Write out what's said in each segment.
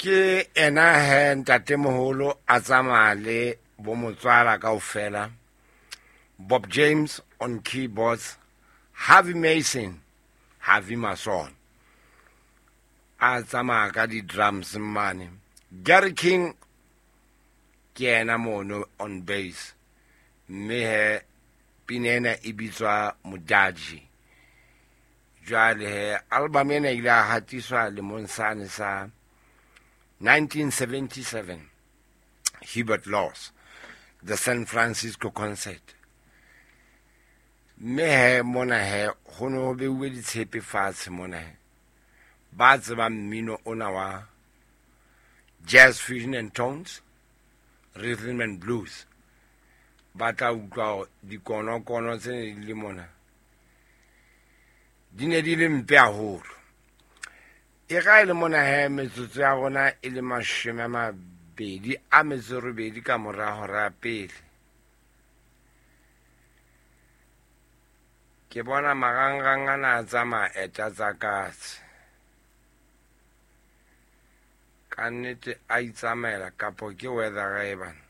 Ke ena he ntatemoholo a tsamaya le bo motswala kaofela. Bob James on keyboards, Harvey Mason, Harvey Mason a tsamaya ka di-drums mane. Gary King ke ena mono on bass, mme he pina ena e bitswa Modaji. Jwale he album ena ile a hatiswa lemong sane sa 1977, Hubert Laws, the San Francisco Concert. Mme he mona he ho ne ho beuwe ditshepe fatshe mona he. Ba tsebang mmino ona wa jazz, fusion and tones, rhythm and blues, ba tla utlwa hore dikonokono tse ne di le mona di ne di le mpe haholo. E ga e le mona he metsotso ya rona e le 28 ka mora hora ya pele. Ke bona marangrang ana a tsamaya eta tsa katse. Ka nnete a itsamaela kapo ke weather e bana.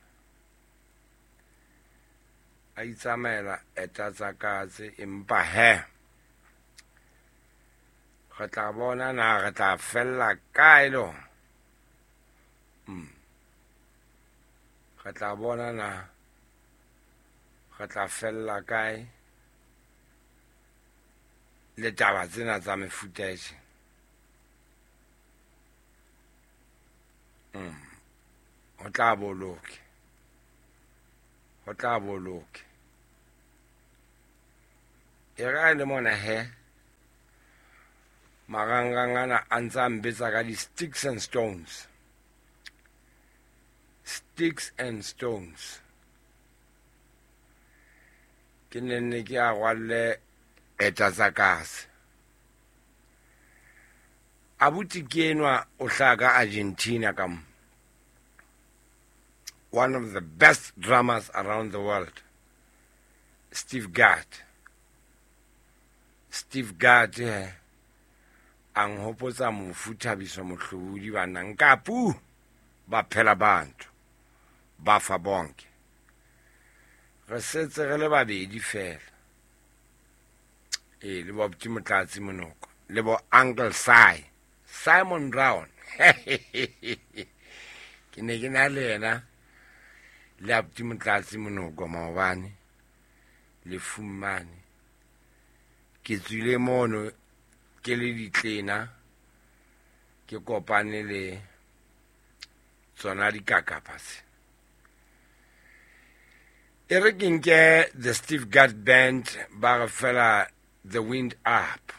A itsamaela eta tsa katse empa he re tla bona na re tla fella kae le hona. Re tla bona na re tla fella kae le taba tsena tsa mefuta e tjena. Ho tla boloke. Ho tla boloke. E re le mona he marangrang ana a ntse a mbetsa ka di-sticks and stones. Sticks and stones. Ke nenne ke a rwalle eta tsa kase. Abuti ke enwa o hlaha ka Argentina ka mo. One of the best drummers around the world, Steve Gadd. Steve Gadd he a nhopotsa mofu Thabiso Mohlodi bana nkapu ba phela bantu ba fa bonke. Re setse re le babedi fela. E le bo Abuti Motlatsi Monoko le bo Uncle Sai, Simon Brown. Ke ne ke na le yena le Abuti Motlatsi Monoko maobane le fumane. Ke tswile mono ke le ditlena ke kopane le tsona dikakapa tse. E re ke nke the Steve Gadd Band ba re fela The Wind Up.